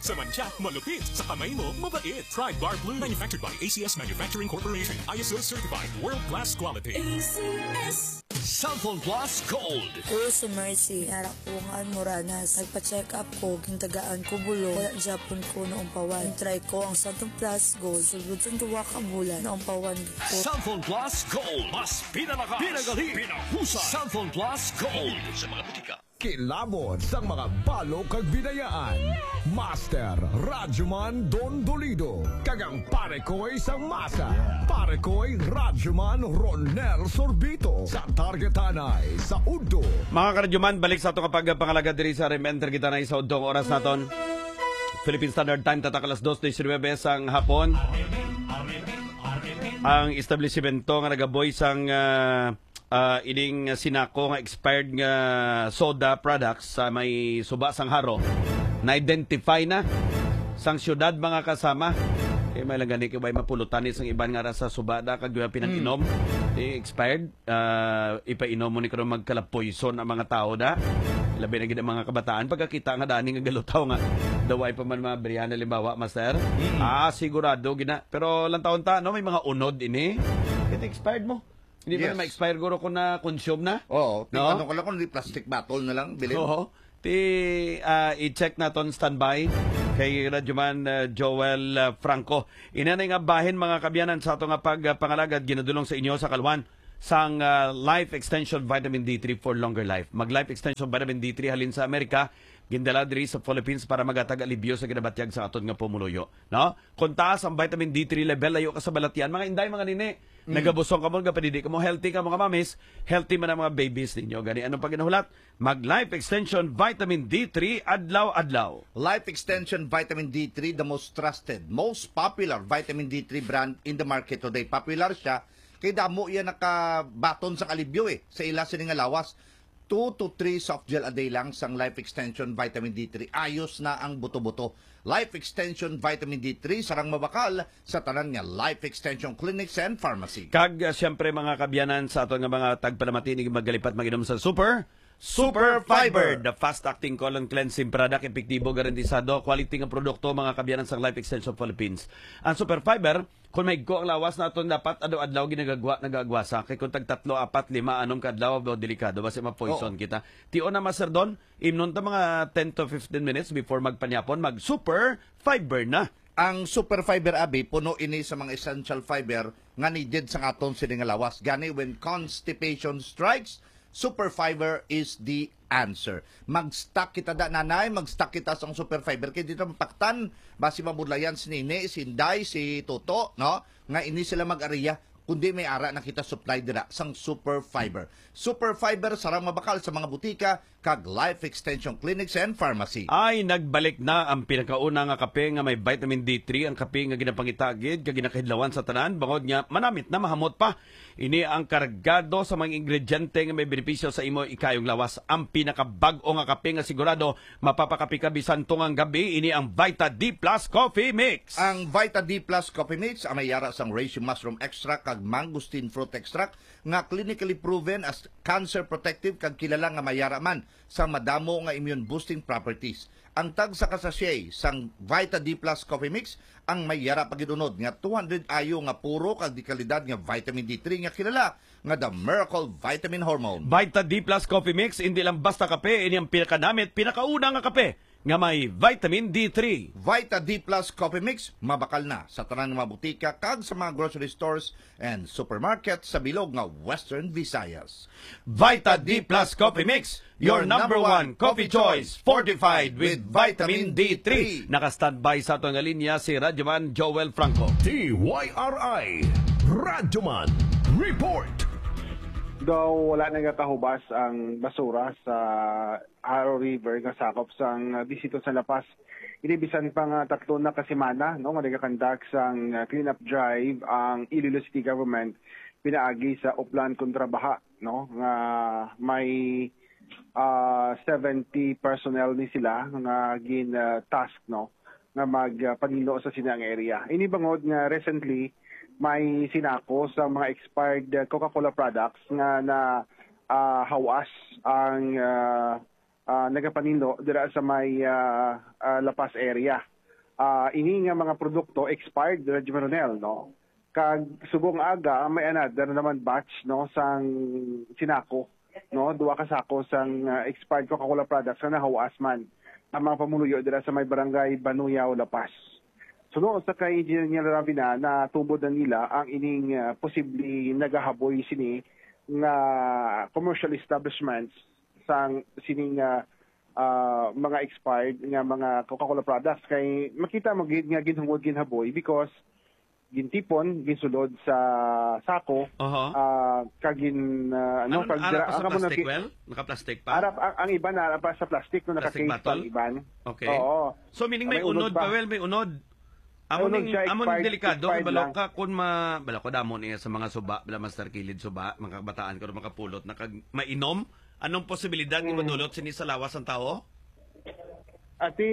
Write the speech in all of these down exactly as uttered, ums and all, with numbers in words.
Sa mancha, malupit. Sa kamay mo, mabait. Pride Bar Blue. Manufactured by A C S Manufacturing Corporation. I S O certified. World class quality. A C S. Cellphone Plus Gold. Hello, si Mercy. Anak ko nga Almoranas. Nagpa-check up ko, gintagaan ko bulong. Wala gyapon ko naumpawan. Try ko ang Cellphone Plus Gold. Sulod sang duha ka bulan, naumpawan ko. Cellphone Plus Gold. Mas pinalakas, pinagaling, pinahusay. Cellphone Plus Gold. Sa mga butika. Kilabot sang mga balo kag binayaan. Master Radyoman Don Dolido kag ang pare ko'y sang masa. Pare ko'y Radyoman Ronel Sorbito sa Target Tanay sa Udto. Mga karadyoman, balik sa ato nga pagpangalagad diri sa R M N Target Tanay sa Udto. Ang oras naton, Philippine Standard Time, tatak alas dos diecinuebe sang hapon. Ang establishmento nga nagaboy sang, ah, ah, ining sinako nga expired nga soda products sa may suba sang Jaro, na-identify na sang syudad, mga kasama. Kay may lang gani kay may mapulutan ni sang iban nga ra sa suba da kag pinag-inom. Mm. Eh, expired, ah, ipainom mo ni karon magkalapoyson ang mga tao da. Labi na gid ang mga kabataan pagkakita nga dani nga galutaw nga daw ay pa man mga brihan, halimbawa, master. Mm. Ah, sigurado gid na. Pero lang taon ta, no, may mga unod ini. It expired mo. Hindi ba Yes. na ma-expire guro kung na-consume na? Oo. No? Ano ko lang kung di plastic bottle na lang, bilhin. Oo. Ti, ah, i-check naton, standby kay Radyoman, ah, Joel, ah, Franco. Ina na nga bahin, mga kabyanan, sa ato nga pag, ah, pangalagad, ginadulong sa inyo sa kalwan sang, ah, Life Extension Vitamin D three for Longer Life. Mag Life Extension Vitamin D three halin sa Amerika, gindala diri sa Philippines para magatag alibyo sa ginabatyag sa aton nga pumuluyo, no? Kung taas ang vitamin D three level, layo ka sa balatian, mga inday, mga nini. Mm. Nagabusong ka mo, gapadidi ka mo, healthy ka, mga mamis, healthy man ang mga babies ninyo. Gani, anong paginahulat? Mag Life Extension Vitamin D three adlaw-adlaw. Life Extension Vitamin D three, the most trusted, most popular vitamin D three brand in the market today. Popular siya kay damo iya nakabaton sa alibyo, eh, sa ila sini nga lawas. Two to three soft gel a day lang sang Life Extension Vitamin D three. Ayos na ang buto-buto. Life Extension Vitamin D three, sarang mabakal sa tanan nga Life Extension Clinics and Pharmacy. Kag, uh, siyempre, mga kabyanan, sa aton nga mga tagpalamati, ni magalipat mag-inom sa Super, Super Fiber, the fast-acting colon cleansing product, epektibo, garantisado, quality nga produkto, mga kabyanan, sa Life Extension Philippines. Ang Super Fiber, kung maigko ang lawas naton, dapat adlaw-adlaw ginagagwa, nagagwasa. Kay kung tag tatlo, apat, lima, anom ka adlaw, daw delikado, basi ma-poison Oo. kita. Tion na, Master Don, imnon ta mga ten to fifteen minutes before magpanyapon, mag Super Fiber na. Ang Super Fiber, abi, puno ini sa mga essential fiber nga needed sa aton sini nga lawas. Gani, when constipation strikes, Super Fiber is the answer. Mag-stock kita da, nanay, mag-stock kita sa Super Fiber. Kay dito mapaktan, basi mabudlayan si Nini, si Inday, si Toto, no? Nga ini sila mag-ariya, kundi may ara na kita supply dira sang Super Fiber. Super Fiber, sarang mabakal sa mga butika, kag Life Extension Clinics and Pharmacy. Ay, nagbalik na ang pinakauna nga kape nga may vitamin D three, ang kape nga ginapangita gid kag ginakahidlawan sa tanan, bangod nga manamit na, mahamot pa. Ini ang kargado sa mga ingrediente nga may benepisyo sa imo ikayong lawas. Ang pinakabag-o nga kape nga sigurado mapapakape ka bisan tungang gabi, ini ang Vita D plus Coffee Mix. Ang Vita D plus Coffee Mix ang may ara sang reishi mushroom extract kag mangosteen fruit extract nga clinically proven as cancer protective kag kilala nga may ara man sa madamo nga immune boosting properties. Ang tagsa ka sachet sang Vita D plus Coffee Mix ang may yara pa gid unod nga two hundred I U nga puro kag di kalidad nga vitamin D three nga kilala nga the Miracle Vitamin Hormone. Vita D plus Coffee Mix, hindi lang basta kape, ini ang pinakanamit, pinakauna nga kape nga may vitamin D three. Vita D plus Coffee Mix, mabakal na sa tanan nga mga butika kag sa mga grocery stores and supermarket sa bilog nga Western Visayas. Vita D plus Coffee Mix, your number one coffee choice, fortified with vitamin D three. Naka-standby sa ato nga linya si Radyoman Joel Franco. D Y R I, Radyoman Report. Daw wala nagakahubas ang basura sa Jaro River nga sakop sang, ah, distrito sa La Paz. Ini bisan pa nga tatlo na ka semana, no, nga nagakandak sang, ah, cleanup drive ang Iloilo City Government pinaagi sa Oplan kontra Baha, no, nga may, ah, seventy personnel ni sila nga gin, ah, task, no, nga mag, ah, panino sa sini ang area. Ini bangod nga recently may sinako sa mga expired, ah, Coca-Cola products nga na, ah, hawas ang, ah, ah, nagapanino dira sa may, ah, ah, La Paz area. ah, ini nga mga produkto expired, Reggie Maronel, no? Kag subong aga, may another naman batch, no, sang sinako, no? Duha ka sako sang, ah, expired Coca-Cola products nga nahawas man ang mga pumuluyo dira sa may barangay Banuyaw, La Paz. Suno sa kay Engineer Ravina, natubod na nila ang ining, ah, posible nagahaboy sini nga commercial establishments sang sining, ah, ah, mga expired nga mga Coca-Cola products. Kay makita mo gid nga ginhungod, ginhaboy because gintipon, ginsulod sa sako, Aha. ah, kag gin, ah, ano, Ano, kag ara dira, pa sa ang amo na plastic, ki-, well? Naka-plastic pa? Ara, ang, ang iban ara pa sa plastic, no, Plastic naka-case pa ang bottle? Iban. Okay. Oo. So, meaning may May unod unod pa, pa. Well, may unod. Amo May unod ning, siya, amo ning expired, delikado, expired balo lang. Ka kun ma-, balo ko damo niya sa mga suba, bala Master Kilid suba, mga kabataan ko makapulot na kag mainom. Anong posibilidad nga Mm. madulot sini sa lawas ang tawo? Ati,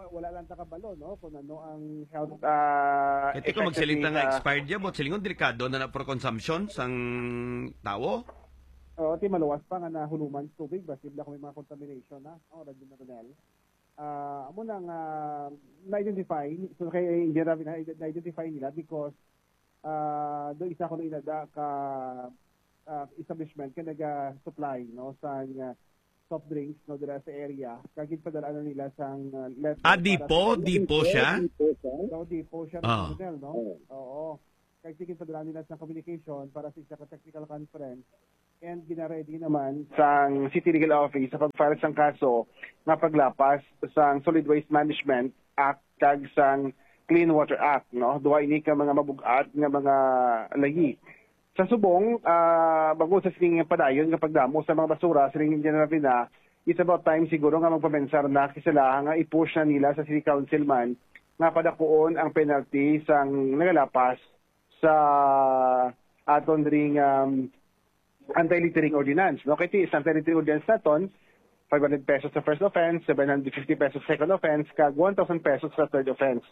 wala lang ta kabalo, no, kung ano ang health, ah, Ito ko effect magsiling ta ni nga sa expired ya, but silingon delikado na na for consumption sang tawo. Oo, ti maluwas pa nga nahuluman sa tubig, basi bala kung may mga contamination na, no, Radyo Maronel. Ah, amo na nga na-identify, so kay Engineer Ravi, na-, na-identify nila because, ah, do isa ko na inada ka, ah, establishment ka naga-supply, no, sa, ah, soft drinks, no, dira sa area. Kag ginpadala na nila sang, ah, letter Ah, para dipo, sa dipo siya? So, dipo siya, Ah. Ronel, no? Oo. Oo. Kag sige, padala nila sa communication para sa isa ka technical conference. And ginaready naman sang City Legal Office sa pag-file sang kaso nga paglapas sang Solid Waste Management Act kag sang Clean Water Act, no? Duha ini ka mga mabug-at nga mga layi. Sa subong, ah, bangod sa sining padayon nga pagdamo sa mga basura, siling ni General Vina, it's about time siguro nga magpamensar na sila nga i-push na nila sa City Council man nga padakuon ang penalty sang nagalapas sa aton ring, um, anti-littering ordinance, no? Kay ti sa anti-littering ordinance naton, five hundred pesos sa first offense, seven hundred fifty pesos sa second offense, kag one thousand pesos sa third offense.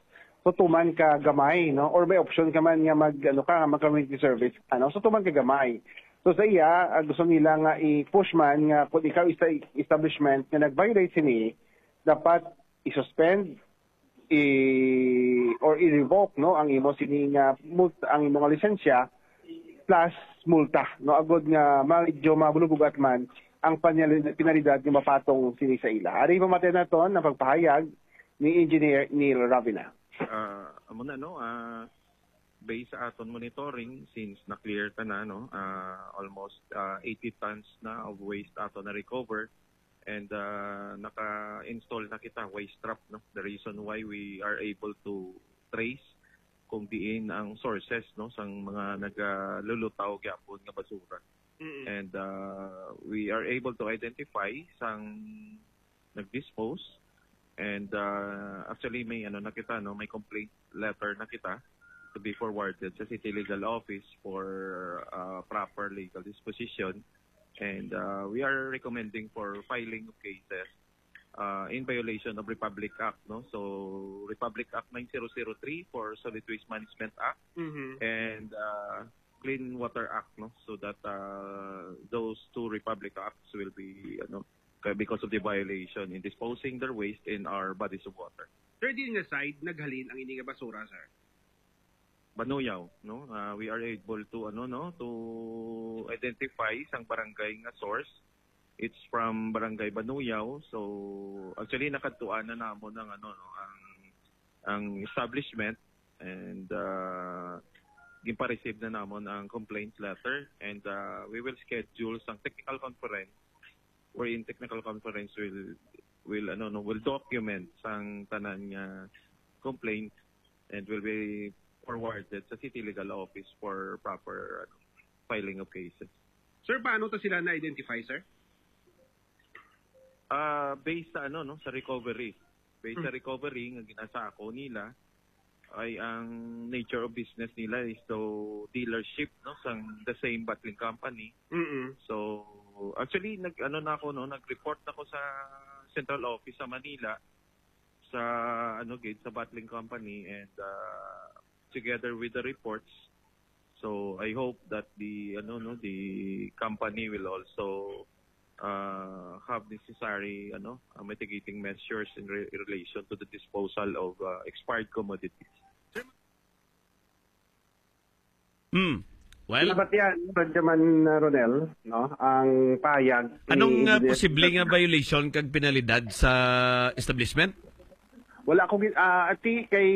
So, tuman ka gamay, no? Or may option ka man nga mag, ano ka, mag community service, ano? So, tuman ka gamay. So, sa iya, ah, gusto nila nga i-push man nga kung ikaw isa establishment nga nag-violate sini, dapat i-suspend, i-, or i-revoke, no, ang imo sini nga mult-, ang imo nga lisensya plus multa, no, agod nga medyo mabulubog at man ang panyali-, penalidad nga mapatong sini sa ila. Ari pamati naton ang pagpahayag ni Engineer Neil Ravina. Ah, amo na, no, ah, based sa aton monitoring, since na-clear ta na, no, ah, almost, ah, eighty tons na of waste ato na-recover, and, ah, naka-install na kita waste trap, no? The reason why we are able to trace kung diin ang sources, no, sang mga nagalulutaw gyapon nga basura. Mm-mm. And, ah, we are able to identify sang nag-dispose. And, ah, actually, may ano na kita, no, may complaint letter na kita to be forwarded sa City Legal Office for, ah, proper legal disposition. And, ah, we are recommending for filing of cases, ah, in violation of Republic Act, no? So, Republic Act nine zero zero three for Solid Waste Management Act Mhm. and, ah, Clean Water Act, no? So that, ah, those two Republic Acts will be, ano, kaya because of the violation in disposing their waste in our bodies of water. Sir, diin nga side naghalin ang ini nga basura, sir? Banuyaw, no? Ah, we are able to, ano, no, to identify sang barangay nga source. It's from Barangay Banuyaw. So, actually, nakadtuan na namon ang, ano, no, ang, ang establishment, and, ah, ginpa-receive na namon ang complaint letter, and, ah, we will schedule sang technical conference wherein technical conference will, will, ano, no, will document sang tanan nga complaint and will be forwarded sa City Legal Office for proper, ano, filing of cases. Sir, paano to sila na-identify, sir? Ah, based sa, ano, no, sa recovery. Based sa Hmm. recovery nga ginasako nila, ay ang nature of business nila is to dealership, no, sang the same bottling company. Mm-mm. So, actually, nag-, ano na ako, no, nag-report na ako sa central office sa Manila, sa, ano, gid, sa bottling company, and, ah, together with the reports. So, I hope that the, ano, no, the company will also uh, have necessary, ano, uh, mitigating measures in re- in relation to the disposal of uh, expired commodities. Hmm. Well, Dapat yan, Radyoman, uh, Ronel, no? Ang pahayag ni anong uh, Engineer posible nga violation kag penalidad sa establishment? Wala ko gin- ah, ati kay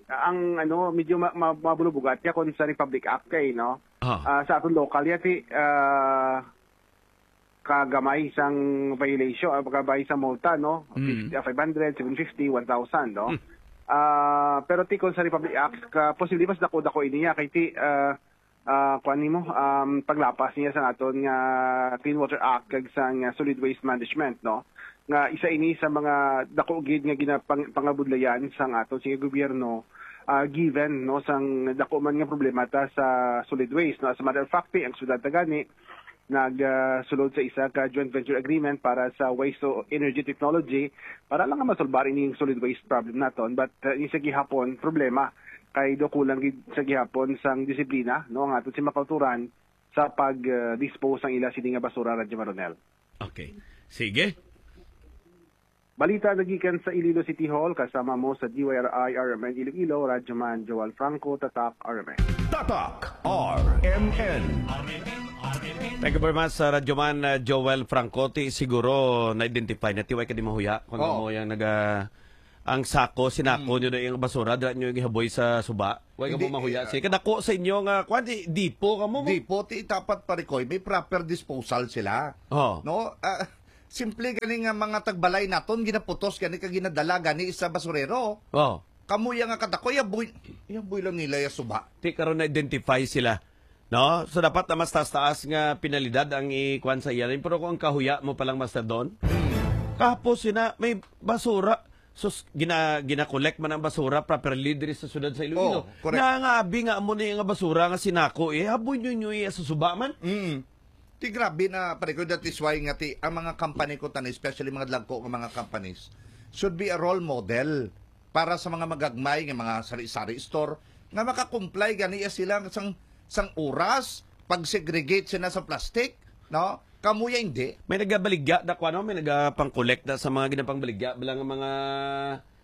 ang ano, medyo ma- ma- mabulubugat ya kon sa Republic Act kay, no? Ah. Ah, sa aton local ya ti ah, kagamay sang violation, ah, kagamay sa multa, no? Mm. Fifty, ah, five hundred, seven fifty, one thousand, no? Mm. Ah, pero ti kon sa Republic Act, ka posible mas dako-dako ini ya kay ti ah, ah, kuan nimo, um, paglapas niya sa aton nga Clean Water Act kag sa nga Solid Waste Management, no? Nga isa ini sa mga dako gid nga ginapang pangabudlayan sang aton sige gobyerno, ah, given, no, sang dako man nga problema ta sa solid waste, no? As a matter of fact, ang syudad ta gani nag ah, sulod sa isa ka joint venture agreement para sa waste to energy technology para lang nga masolbar ining solid waste problem naton, but uh, ini sa gihapon problema kay do kulang gid sa gihapon sang disiplina, no, ang aton si makauturan sa pag uh, dispose sang ila sini nga basura, Radyo Maronel. Okay. Sige. Balita nagikan sa Iloilo City Hall, kasama mo sa D Y R I R M N Iloilo, Radyoman Joel Franco, Tatak R M N. Tatak R M N. Thank you very much sa Radyoman uh, Joel Franco. Ti siguro na-identify na ti way ka di mahuya kung Oo. Mo yang naga ang sako, sinako nyo na yung basura, dira nyo yung ihaboy sa suba. Way ka mo Hindi, mahuya. eh, Sige, kadako sa inyo nga, kwan, di, dipo ka mo. Dipo, ti dapat, pare ko, may proper disposal sila. Oh. No? Ah, simple gani nga mga tagbalay naton, ginaputos gani kag ginadala gani sa basurero. Oh. Kamuya nga kadako, yaboy, yaboy lang nila ya suba. Ti karon na-identify sila. No? So dapat na mas taas-taas nga penalidad ang ikuan sa iya. Pero kung ang kahuya mo palang, Master Don, kahapon sina may basura. Sus, gina, gina-collect man ang basura properly diri sa siyudad sa Iloilo. Oh, correct. Nangabi nga amo ni nga basura nga sinako eh. Haboy nyo nyo iya sa suba man. Mm. Ti grabe na, pare ko, that is why nga ti, ang mga company ko tani, especially mga dagko nga mga companies, should be a role model para sa mga magagmay nga mga sari-sari store nga maka-comply gani ya sila sang sang oras, pag-segregate sila sa plastic, no? Kamuya hindi. May nagabaligya na ko ano, may nagapang-collect na sa mga ginapangbaligya bala nga mga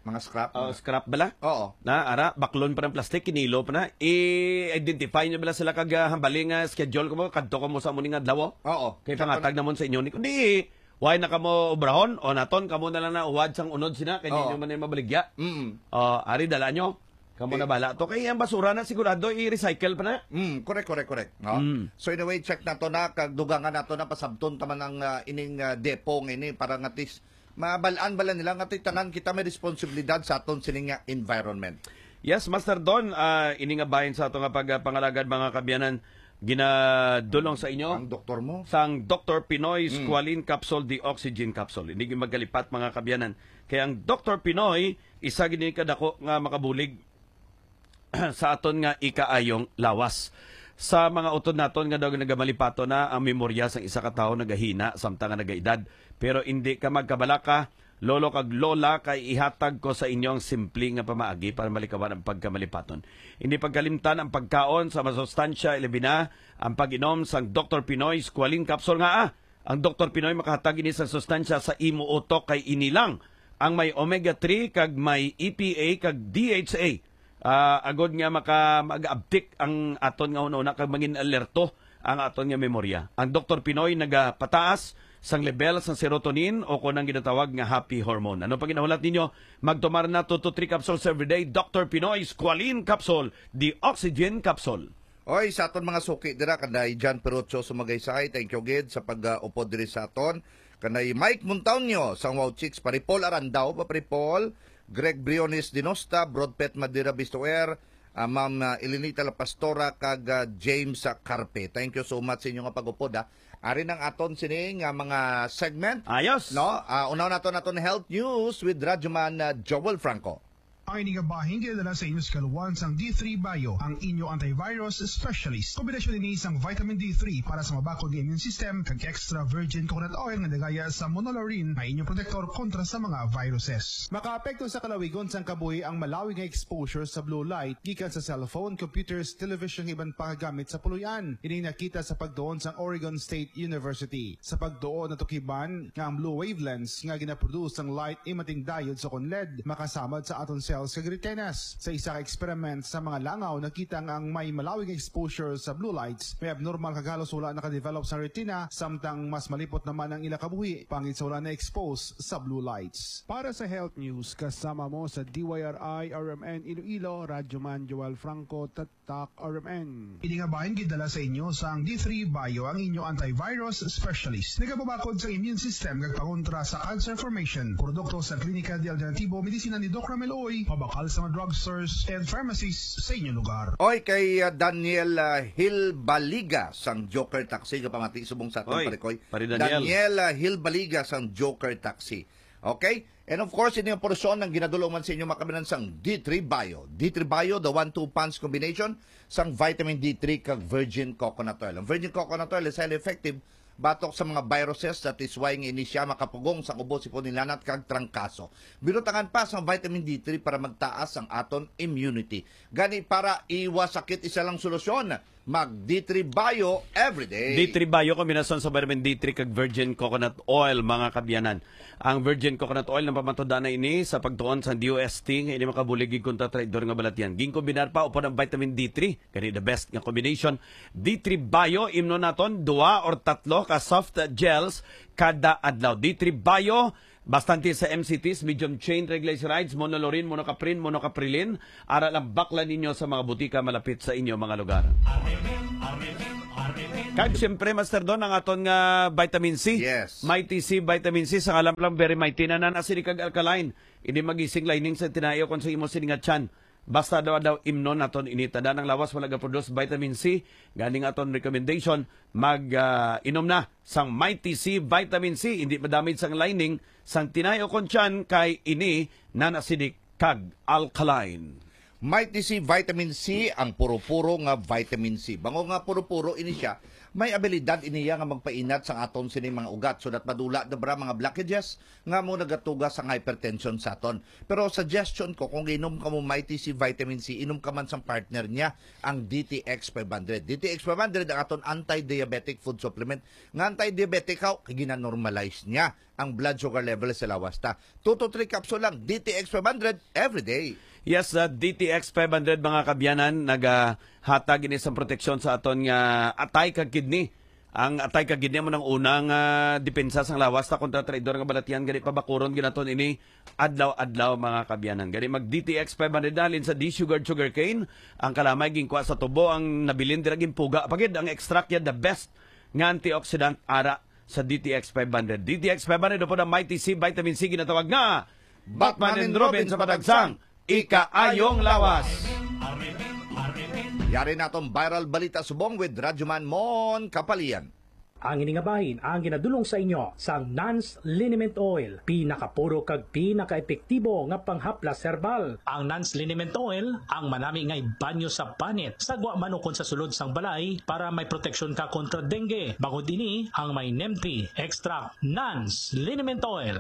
Mga scrap. uh, scrap bala. Oo. Na ara, baklon pa ng plastic, kinilo pa na. I-identify nyo bala sila kag uh, hambali nga schedule ko mo, kadto ko mo sa amo ni nga adlaw. Oo. Kay pangatag namon sa inyo ni kundi why na kamo obrahon o naton kamo na lang na uwad sang unod sina kay Oo. Inyo man ay mabaligya. Mm. Oh, ari dala nyo. Kamo na bala to kay ang basura na sigurado i-recycle pa na. Mm, correct, correct, correct. No? Mm. So in a way, check nato na, kag dugangan nato na pasabton taman ang ah, ining ah, depo nga ini para nga tis mabalaan bala nila nga ti tanan kita may responsibilidad sa aton sining nga environment. Yes, Master Don, ah, ini nga bahin sa ato nga pagpangalagad, mga kabyanan, ginadulong sa inyo Ang doktor mo. sang Doktor Pinoy Squalene Capsule, the Oxygen Capsule. Hindi gyud magkalipat, mga kabyanan. Kaya ang Doktor Pinoy, isa gini kadako nga makabulig sa aton nga ikaayong lawas. Sa mga utod naton nga daw nagamalipato na ang memorya sang isa ka tawo nagahina samtang nga nagaedad. Pero hindi ka magkabalaka, lolo kag lola, kay ihatag ko sa inyo ang simple nga pamaagi para malikawan ang pagkamalipaton. Hindi pagkalimtan ang pagkaon sa masustansya, ilabi na ang pag-inom sang Doktor Pinoy Squalene Capsule nga ah, ang Doktor Pinoy makahatag ini sa sustansya sa imo utok kay ini lang ang may omega three kag may E P A kag D H A. Ah, agod nga maka mag-abtik ang aton nga hunahuna kag mangin alerto ang aton nga memorya. Ang Doktor Pinoy nagapataas sang level sang serotonin o kon ang ginatawag nga happy hormone. Ano pa ginahulat ninyo? Magtumar na two to three capsules every day. Doktor Pinoy Squalene Capsule, the Oxygen Capsule. Oy, sa aton mga suki dira, kanday John Perucho Sumagaysay, thank you gid sa pag-upod diri sa aton. Kanday Mike Montaño sang Wow Chicks, Paripol Arandao, pa Paripol, Greg Briones Dinosta, Brodpet Madera Bistoer, ah, Ma'am ah, Elenita La Pastora, kag ah, James ah, Carpe. Thank you so much sa inyo nga pag-upod, ha. Ari nang aton sini nga mga segment. Ayos. No? Ah, unaw naton aton health news with Radyoman ah, Joel Franco. Ang ini nga bahin ginadala sa inyo sa kaluwasan sang D three Bio, ang inyo antivirus specialist. Kombinasyon ini sang vitamin D three para sa mabakod nga immune system kag extra virgin coconut oil nga nagaya sa monolaurin nga inyong protektor kontra sa mga viruses. Makaapekto sa kalawigon sang kabuhi ang malawig nga exposure sa blue light gikan sa cellphone, computers, television, kag iban pa nga gamit sa puloy-an. Ini nakita sa pagtuon sang Oregon State University. Sa pagtuon, natukiban nga ang blue wavelengths nga ginaproduce sang light imating diode sa ukon L E D makasamad sa aton cells kag retinas. Sa isa ka experiment sa mga langaw, nakita nga ang may malawig nga exposure sa blue lights may abnormal kag halos wala nakadevelop sa retina, samtang mas malipot naman ang ila kabuhi pangit sa wala na-expose sa blue lights. Para sa Health News, kasama mo sa D Y R I R M N Iloilo, Radyo Man Joel Franco, Tatak R M N. Ini nga bahin gidala sa inyo sang D three Bio, ang inyo antivirus specialist. Nagapabakod sa immune system kag pangontra sa cancer formation. Produkto sa Klinika de Alternativo Medicina ni Doc Ramel Uy, mabakal sa mga drugstores and pharmacies sa inyo lugar. Oy, kay, ah, Daniel, ah, Hilbaliga sang Joker Taxi, kapamati subong sa aton, Oy, pare Koy. Pare Daniel. Daniel, ah, Hilbaliga sang Joker Taxi. Okay? And of course, ini ang porsyon ang ginadulong man sa inyo, mga kabiyanan, sang D three Bio. D three Bio, the one two punch combination sang vitamin D three kag virgin coconut oil. Ang virgin coconut oil is highly effective batok sa mga viruses, that is why nga ini siya makapugong sang ubo, sipon, hilanat kag trangkaso. Binutangan pa sang vitamin D three para magtaas ang aton immunity. Gani, para iwas sakit, isa lang solusyon, mag D three Bio everyday. D three Bio, kombinasyon sa vitamin D three kag virgin coconut oil, mga kabiyanan. Ang virgin coconut oil, napamatudan na ini sa pagtuon sa D O S T nga ini makabulig gid kontra traidor nga balatyan. Ginkombinar pa upod ang vitamin D three, gani the best nga combination. D three Bio, imnon naton duha or tatlo ka soft gels kada adlaw. D three Bio, bastante sa M C Ts, medium chain triglycerides, monolaurin, monocaprin, monocaprilin. Ara lang, baklan ninyo sa mga butika malapit sa inyo mga lugar. Kag siyempre, Master Don, ang aton nga vitamin C. Yes. Mighty C vitamin C, sa ngalan lang, very mighty na, non-acidic kag alkaline. Ini magising lining sa tinai ukon sa imo sini nga tiyan. Basta daw, daw imnon naton ini. Tanda, ang lawas wala ga-produce vitamin C. Gani nga aton recommendation, mag, ah, inom na sang Mighty C vitamin C. Hindi madamage sang lining sang tinai ukon tiyan kay ini non-acidic kag alkaline. Mighty C vitamin C, ang puro-puro nga vitamin C. Bangod nga puro-puro ini siya, may abilidad ini nga magpainat sang aton sini mga ugat, so that madula na bra mga blockages nga mo nagatuga sang hypertension sa aton. Pero suggestion ko, kung inom ka mo Mighty C vitamin C, inom ka man sang partner niya, ang D T X five hundred. D T X five hundred ang aton anti-diabetic food supplement. Nga anti-diabetic, haw, kay gina-normalize niya ang blood sugar level sa lawas ta. Two to three capsule lang, D T X five hundred every day. Yes, uh, D T X five hundred, mga kabiyanan, nagahatag ini sa proteksyon sa aton nga atay kag kidney. Ang atay kag kidney mo nang unang, ah, depensa sang lawas ta kontra traidor nga balatyan, gani pabakuron ginaton ini adlaw-adlaw, mga kabiyanan. Gani mag D T X five hundred, halin sa D-Sugared Sugarcane, ang kalamay ginkuha sa tubo, ang nabilin dira ginpuga pa gid, ang extract ya the best nga antioxidant ara sa D T X five hundred. D T X five hundred upod ang Mighty C Vitamin C, ginatawag nga Batman and Robin sa padagsang ikaayong lawas. Yari na atong viral balita subong with Radyoman Mon Kapalian. Ang ini nga bahin ang ginadulong sa inyo sang Nans Liniment Oil, pinakapuro kag pinakaepektibo nga panghaplas herbal. Ang Nans Liniment Oil, ang manami nga ibanyo sa panit, sa gwa man ukon sa sulod sang balay, para may proteksyon ka kontra dengue. Bangod ini, ang may Nemti Extract, Nans Liniment Oil.